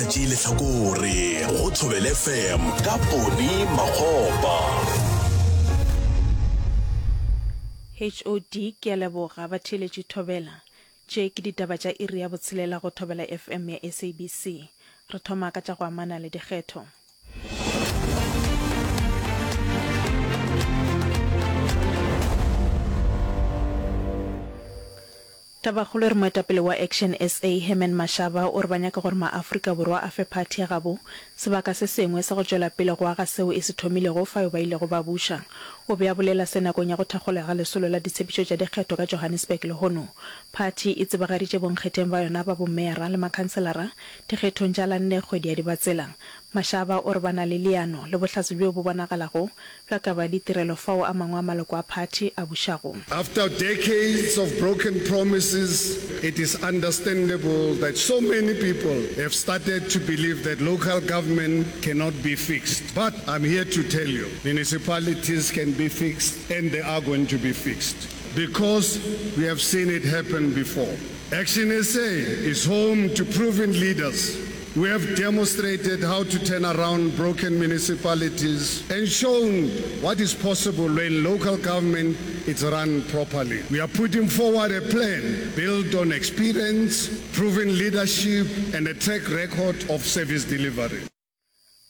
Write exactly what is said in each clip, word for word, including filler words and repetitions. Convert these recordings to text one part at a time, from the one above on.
Sa tšee lehlakore go Thobela FM ka Poni Makgopa. HOD Ke a leboga batheeletši Thobela. Tše ke ditaba tša iri ya botshelela go Thobela FM ya SABC. Re thoma ka tša go amana le dikgetho. Tabakgolo e re moetapele wa Action SA Herman Mashaba o re ba nyaka gore maAfrika Borwa a fe phathi ya gabo sebaka se sengwe sa go tšwela pele go aga seo e se thomilego fao ba ilego ba buša. O be a bolela se nakong ya go thakgolwa ga lesolo la ditshepišo tša dikgetho ka Johannesburg lehono. Phathi e tsebagaditše bonkgetheng ba yona ba bomeyara le makhanselara dikgethong tša la nne kgwedi ya Dibatsela. Mashaba o re ba na le leano le bohlatse bjo bo bonagalago bja kabo ya ditirelo fao a mangwe a maloko a phathi a bušago. After decades of broken promises, it is understandable that so many people have started to believe that local government cannot be fixed. But I'm here to tell you, municipalities can be fixed and they are going to be fixed because we have seen it happen before. ActionSA is home to proven leaders We have demonstrated how to turn around broken municipalities and shown what is possible when local government is run properly. We are putting forward a plan built on experience, proven leadership and a track record of service delivery.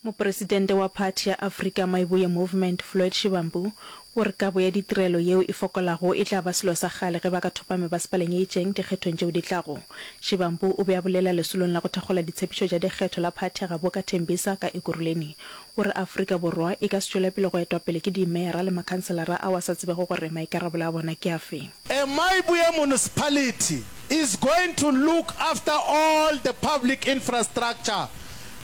Mopresidente wa phathi ya Afrika Maibuye Movement, Floyd Shivambu, o re kabo ya ditirelo yeo e fokolago e tla ba selo sa kgale ge ba ka thopa mebasepaleng e itšeng dikgethong tšeo di tlago. Shivambu o be a bolela lesolong la go thakgola ditshepišo tša dikgetho la phathi ya gabo ka Tembisa ka Ekurhuleni. O re Afrika Borwa e ka se tšwele pele go etwa pele ke dimeyara le makhanselara ao a sa tsebego gore maikarabelo a bona ke afe. A Mayibuye municipality is going to look after all the public infrastructure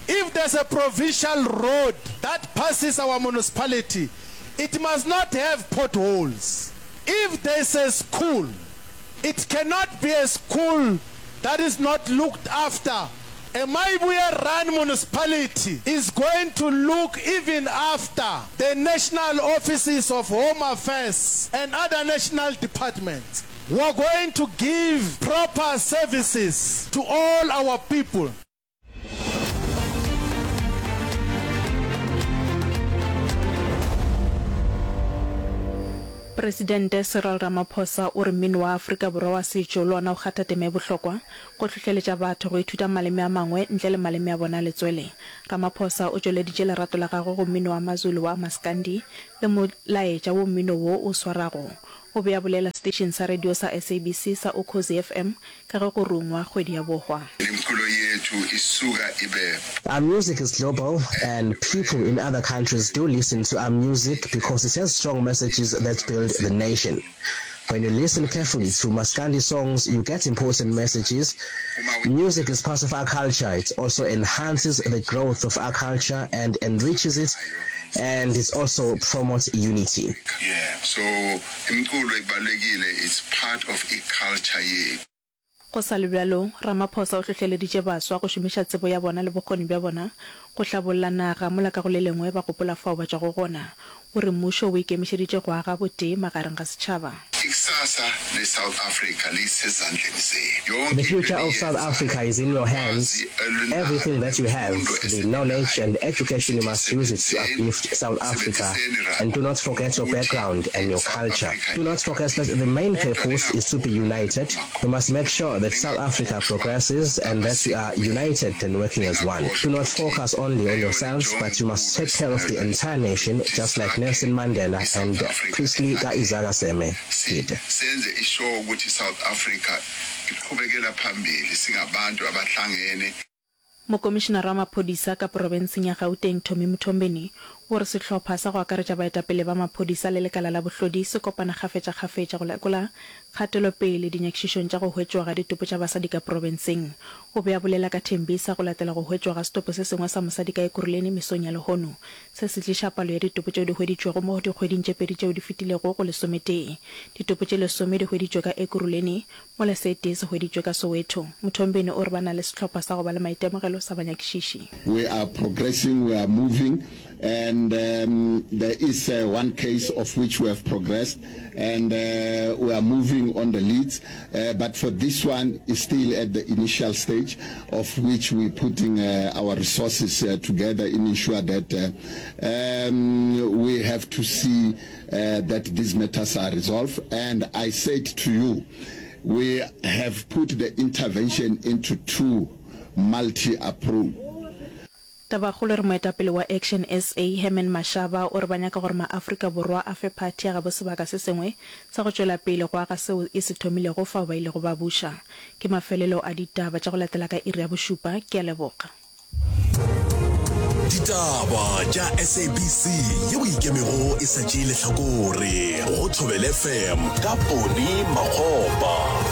If there's a provincial road that passes our municipality, it must not have potholes. If there's a school, it cannot be a school that is not looked after. A Mayibuye run municipality is going to look even after the national offices of Home Affairs and other national departments. We are going to give proper services to all our people. Presidente Cyril Ramaphosa o re mmino wa Afrika Borwa wa setšo le ona o kgatha tema e bohlokwa go hlohleletša batho go ithuta maleme a mangwe ntle le maleme a bona a letswele. Ramaphosa o tšweleditše lerato la gagwe go mmino wa Mazulu wa Maskandi le molaetša wo mmino wo o swarago. O be a bolela seteišeng sa radio sa SABC sa Ukhozi FM ka ge go rungwa kgwedi ya bohwa. Our music is global and people in other countries do listen to our music because it has strong messages that build the nation. When you listen carefully to Maskandi songs, you get important messages. Music is part of our culture. It also enhances the growth of our culture and enriches it and it also promotes unity. Yeah so imculo ibalulekile it's part of i culture yethu. Go sa le bjalo, Ramaphosa o hlohleleditše baswa go šomiša tsebo ya bona le bokgoni bja bona go hlabolla naga mola ka go le lengwe ba gopola fao ba tšwago gona. O re mmušo o ikemišeditše go aga botee magareng ga setšhaba. Ikusasa le South Africa lisezandleni zenu. The Yonke into future of South Africa eniyenzayo, is in your hands. ulwazi olunalo Everything that you have, nemfundo the knowledge esininayo, and education you must use it to sisebenziseni, uplift South Africa sisebenziseni and do not forget your ukuthi background and your i-South culture. Africa Do not forget that iye the main phambili. Kodwa purpose is to be ningakhohlwa united. We must make sure that South Africa ningakhohlwa progresses and that we are amasiko enu, united and working as one. Do ningakhohlwa not ukuthi focus only on eyona yourselves, but you must njongonkulu take care of the esinayo la entire nation, ukuthi just like sakhe Nelson Mandela i-South and Africa Priestley ehlangene. Ka-Isaka Seme Si, did. senze isure ukuthi i-South Africa iqhubekela phambili singabantu abahlangene. Mokomišenara wa maphodisa ka porofenseng ya Gauteng Tommy Mthombeni o re sehlopha sa go akaretša baetapele ba maphodisa le lekala la bohlodi se kopana kgafetšakgafetša go lekola kgatelopele dinyakišišong tša go hwetšwa ga ditopo tša basadi ka porofenseng. O be a bolela ka Tembisa go latela go hwetšwa ga setopo se sengwe sa mosadi ka Ekurhuleni mesong ya lehono. Se se tliša palo ya ditopo tšeo di hweditšwego mo dikgweding tše pedi tšeo di fetilego go lesometee. Ditopo tše lesome di hweditšwe ka Ekurhuleni, mola se tee se hweditšwe ka Soweto. Mthombeni o re ba na le sehlopha sa go ba le maitemogelo sa banyakišiši. We are progressing, we are moving And um, there is uh, one case of which we have progressed and uh, we are moving on the leads. Uh, but for this one, it's still at the initial stage of which we're putting uh, our resources uh, together in ensure that uh, um, we have to see uh, that these matters are resolved. And I said to you, we have put the intervention into two multi-approach. Tabakgolo e re moetapele wa Action SA, Herman Mashaba o re ba nyaka gore maAfrika Borwa a fe phathi ya gabo sebaka se sengwe sa go tšwela pele go aga seo e se thomilego fao ba ilego ba buša. Ke mafelelo a ditaba tša go latela ka iri ya bošupa. Ke a leboga. Ditaba tša SABC yeo e ikemego e sa tšee lehlakore go Thobela FM ka Poni Makgopa.